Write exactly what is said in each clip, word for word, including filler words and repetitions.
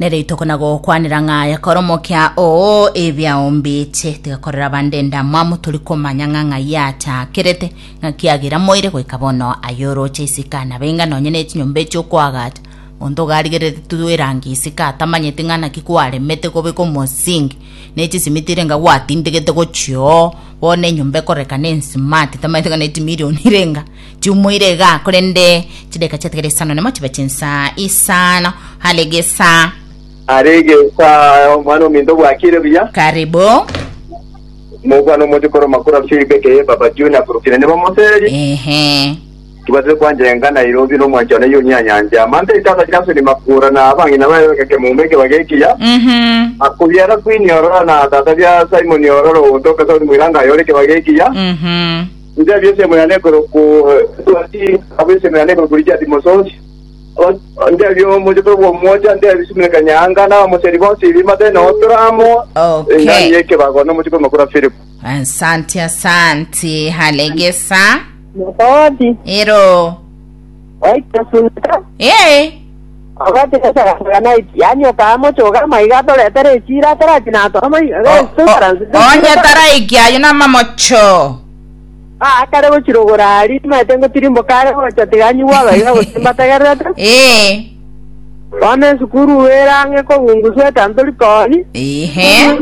Nere itoko gokwanera ng'a yakoromokia oo ebyaombiche tigakorera bande ndamwamu turi komanya ng'a ng'a yachakerete ng'a kiagira moire goika bono ayoroche isika na benga nonye ne chinyomba echiokoagacha onto garigerete tuerangi isika atamanyete ng'a naki kwaremete kobeka omosingi ne chisimitire nga gwatindegete gochio bono enyomba ekorekana ensimati tamanyete ng'a ne chimilioni irenga chiumoire iga korende chideka chiatigere isano nemo chibe chinsa isano halegesa. Aregesa omwana ominto bwakire buya. Karibu. Mokwana omochokoro makura Philip aka Baba Junior kurukire ne bamoseri. Ehe. Tubate kwanjenga Nairobi no mwanchana yo nyanyanja mante itata Johnson makura na abang'ina bayo kemumeke bagekiya. Mhm. Akubyara Queen Orora na tata bya Simon Ororo otoka Saudi Mwiranga yoreke bagekiya. Mhm. Nje byese muyane ku twati abese muyane ku Richard Mososi nje byo mochokoro bwo moja nje bisumeka kanyanga na moseri bonsi bimate no tramo. Okay. Ngani yeke bagono mochokoro makura Philip. Asante, asante. Halegesa. Mokoti. Ero. Waita sunta. Eh. Ogati kasagana yani okamochoga maiga toretere chira tarachina to maiga. Onye taraikia ayo na mamocho. Ah, kare gochirogora ari matengo tirimbo kare gocha tiganywa baiga gosimba tagerete. Eh. Wane sukuru werange ko ngunguswe tantori koni. Ehe.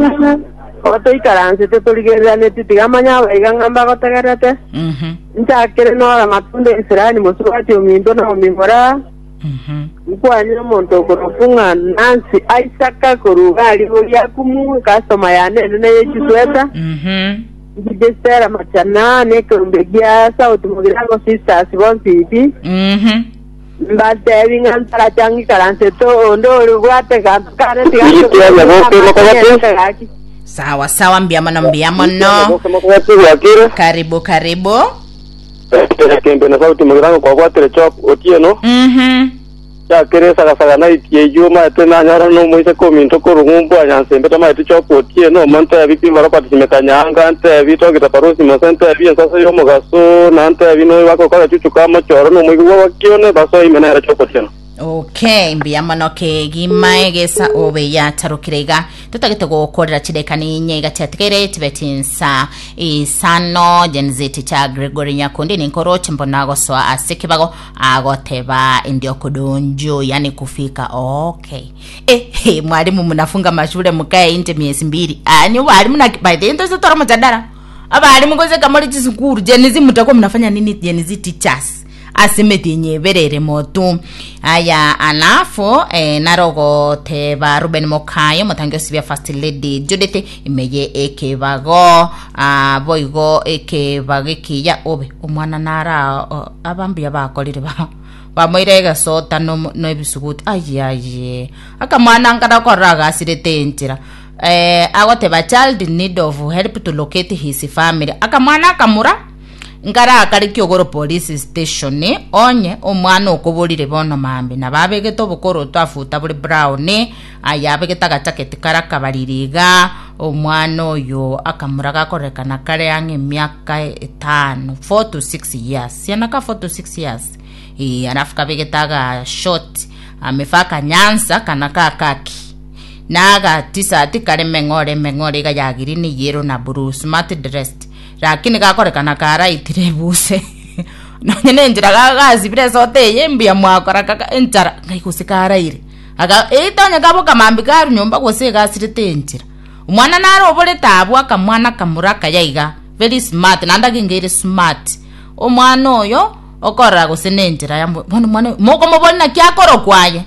Otoikaranse torigererane tigamanya baiga ng'amba gotegerete. Mhm. Nchakere nora matunda Israeli musubati ominto na omimora. Mhm. Nkwanyire omonto okorokunga Nancy Isaka koruga ari boria kumu customer yane nene yechisweta. Mhm. Njidestera machana nekerumbe gia South Mugirango Sisters bonsi Mhm. mbatebi ng'a ntarachang'ikaranse to onde ori bwate ganto kare tiga. Sawa sawa, mbia mono mbia mono. Karibu karibu. Kembe na Sauti Mugirango kwa gwatire chop otieno. Mhm. Chakere sagasaga na itie yuma tena nyara no moise kominto korungumbu anyansembe tama iti chop otieno monte abipi barapati simekanyanga nte bitogita parusi mosente abi ensasa yo mugaso na nte abino bako kora chuchuka mochoro no moigwa wakione baso imena era chop otieno. Okay, mbia mono kegima egesa obe yatarukire iga tutagete gukorera chideka ni inye iga chiatigere chibe chinsa isano Gen Z cha Gregory Nyakundi ni nkoroche mbona gosoa ase kibago agoteba ndio kudonjo yani kufika. Okay, eh hey, mwalimu mnafunga mashule mkae nje miezi mbili. Ah, ni walimu na by the end tora mujadara abalimu ngoze kamoli chisukuru Gen Z mtakuwa mnafanya nini Gen Z teachers asimeti nyeberere motu aya alafu eh, narogo teba Ruben Mokayo mutangi osibia First Lady Judith imeye ekebago ah, boigo ekebago ekiya obe omwana nara abambi abakorire ba bamoire egesota no, no ebisuguti aye aye akamwana nkarakorora agasirete enchera eh, agoteba child need of help to locate his family akamwana akamura nkara akari kiogoro police station onye omwana okoborire bono mambi na babegete obokoro twafuta buri brown aya abegete agajaketi kara kabaririga omwana oyo akamura gakorekana kare ang'e emiaka etano four to six years siana ka four to six years e, alafu kabegete aga short amefaa kanyansa kana kakaki naga tisati kare meng'ore meng'ore iga ya green yellow na blue smart dressed lakini gakorekana karaitire buse nonye nenjira gagacibire sote eye mbia mwakora kaka enchara ngai gose karaire aga itonya kaboka mambi karu nyomba gose gasirete enchira omwana naro oborete abwo akamwana kamura kayaiga very smart nanda kingeire smart omwana oyo okorora gose nenjira ya bono mwana mokomoboni naki akorokwaye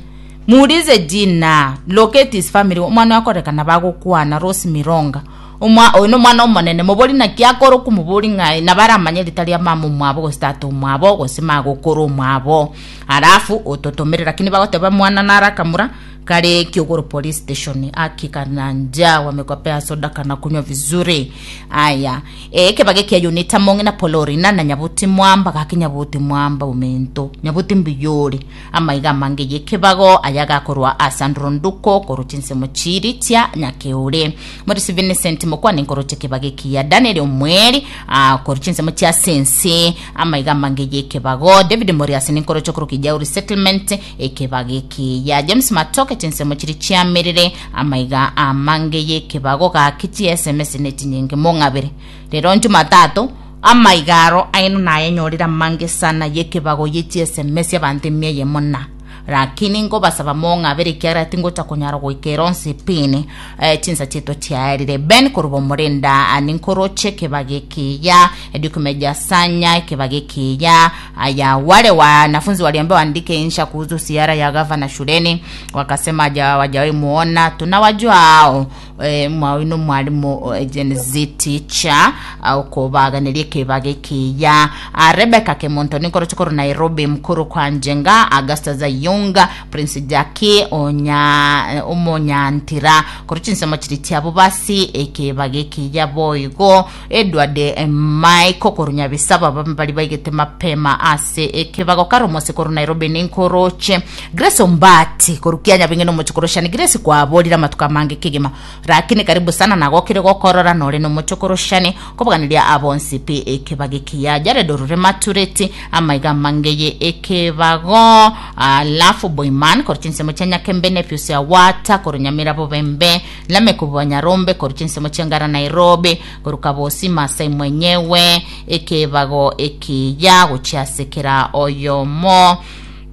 muulize jina locate his family omwana akorekana bagokwana Rose Mironga omwa oyo no mwana omonene mobori naki akoro kumubori ng'ai nabaramanye ritari ya mama omwabo gose tata omwabo gose magokoro omwabo alafu ototomerera lakini bagoteba mwana narakamura kare Kiogoro police station akikana njaa wamekopea soda kana kunywa vizuri aya e kebage kia unita monge na polorina na nyabuti mwamba gaki nyabuti mwamba umento nyabuti mbiyori amaiga mange yekebago ayagakorwa asandro nduko koruchinse muchiri tia nyakeure Morisi Vincent mokwani nkoroche kebage kia Daniel Omweri a koruchinse muchia sense amaiga mange yekebago David Morias nkoroche korukijauri settlement ekebage kia James Matoke Nyaboke chinsemo chiri chiamerere amaiga amange yekebago gaki chi S M S netinyinge mong'abere rero Jumatatu amaigaro aino nayenyorera mange sana yekebago ye S M S abantu emia mona lakini ngobasaba mong'abere kiara tingocha kunyara goikera onsi pini eh, chinsa cheto chiarire Ben korubo murenda aninkoroche kebagekiya edukumeja sanya kebagekiya aya wale wanafunzi waliambiwa waandike insha kuhusu siara ya gavana shuleni wakasema hawajawahi muona tunawajua hao e, mwawino mwalimu Gen Z teacher au kobaganirie kebagekiya Rebecca Kemonto ninkoroche koru Nairobi mkuru kwa Njenga Augusta Zayunga Prince Jackie onya omonyantira koruchinsemo chiri chiabo basi ekebagekiya boigo Edward eh, Michael korunyabisaba bali baigete mapema ase ekebago karomose koru Nairobi ninkoroche Grace Ombati korukianya binge nomochokoroshani Grace kwaborira matuka mange kigima lakini karibu sana nagokire gokorora nore nomochokoroshani kobaganiria abonsi pi ekebagekiya Jared Orure Matureti amaiga mangeye ekebago alafu Boyman koruchinsemo cha Nyakembe Nephews ya Wata korunyamira bobembe Lame Nyarombe koruchinsemo cha Ngara Nairobi korukabosi Masai mwenyewe ekebago ekiya gochiasekera oyomo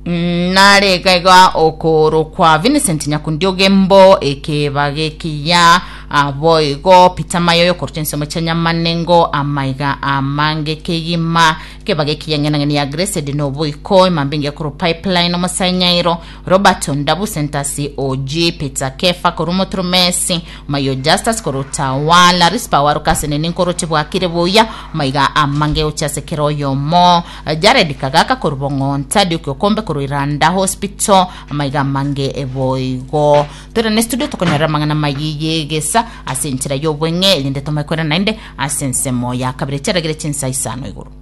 naregaiga okoro kwa Vincent Nyakundiogembo ekebagekiya aboigo Peter Mayoyo koruchinsemo cha Nyamanengo amaiga amange kegima kebagekiya ng'enang'eni ya Grace Dinoboiko imambingi ya kuru pipeline omosanyairo Robert Ondabu Sentasi O G Peter Kefa korumotromesi Mayo Justus korutawala Rispa warukasene ninkoroche bwakire buya maiga amange ochasekero yomo Jared Kagaka korubong'onta Duke Okombe koruiranda hospital maiga mange eboigo tora ne studio tokonyora mang'ana mayiyegesa ase enchera yobweng'e erinde tomaikora naende ase ensemo ya kabere chiaragere chinsa isano igoro.